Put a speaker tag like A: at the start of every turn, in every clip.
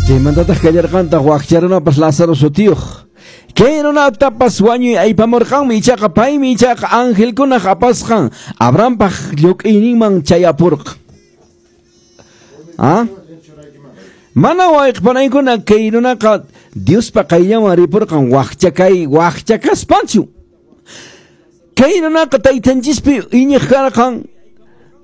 A: Chaymantataq kallarqantaq wakcha runapas Lázaro sutiyuq. Kay runatapas wañuy aypamurqanmi, ichaqa paymi ichaqa angelkunaq apasqan Abrahampaq lluk'iyninman chayapurqan. ¿Ah? Mana wayqpanaykuna kay runaqa Diospa qayllanman ripurqan wakcha kay wakcha kaspachu. Kay runaqa taytanchispi iñiq karqan,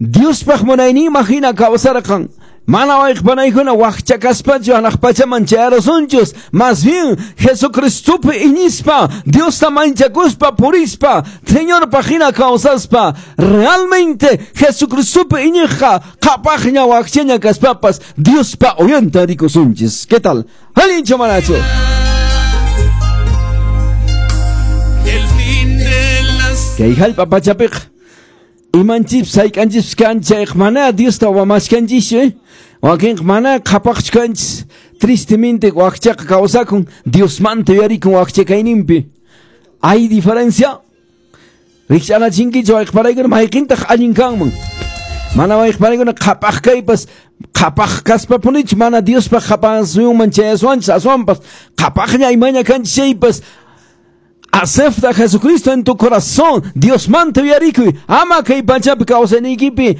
A: Diospaq munayninman hina kawsarqan. Mana wayqpanaykuna wakcha kaspachu hanaq pachaman chayarusunchus, más bien Jesucristopi iñispa, Diosta manchakuspa purispa, Señorpaq hina kawsaspa, realmente Jesucristopi iñiqqa qhapaqña wakchaña kaspapas Diospa uyanta rikusunchis. ¿Qué tal? Allinchu manachu?
B: El fin de las
A: Kay hallp'a pachapiqa imanchis sayk'anchis kan chayqa mana Diosta wamashkanchischu, eh? Wakinqa mana qhapaqchu kanchis. Tristemente wakchaqa kawsakun, Diosmanta yuyarikun wakcha kayninpi. Hay diferencia? Rikch'anachinkichu wayqparaykuna mayqintaq allin kanman? Mana wayqparaykuna qhapaq kaypas qhapaq kaspapunichu mana Diospaq qhapasuyunman chayaswanchis, aswanpas qhapaqña imaña kanchis chaypas. Acepta a Jesucristo en tu corazón. Diosmanta yuyarikuy. Ama kay pachapi kawsayniykipi,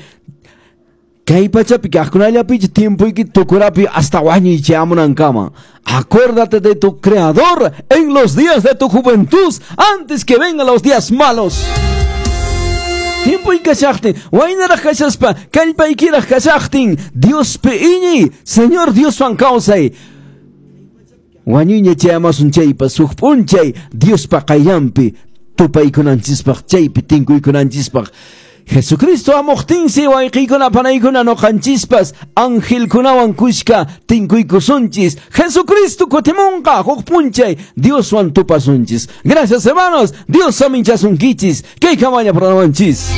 A: kay pachapi kaqkunallapichu tiempoyki tukurapi hasta wañuy chayamunankama. Acuérdate de tu Creador en los días de tu juventud, antes que vengan los días malos. Tiempoy kashaqtin, waynaraq kashaspa, kallpaykiraq kashaqtin, Diospi iñiy, Señor Dioswan kawsay. Wañuyña chayamasun chaypas huk p'unchay Diospa qayllanpi tupaykunanchispaq, chaypi tinkuykunanchispaq. Jesucristo amuqtinsi wayqiykuna panaykuna noqanchispas angelkunawan kushka tinkuykusunchis. Jesucristo kutimunqa huk p'unchay Dioswan tupasunchis. Gracias, hermanos. Dios saminchasunkichis. Kay kamalla programanchis.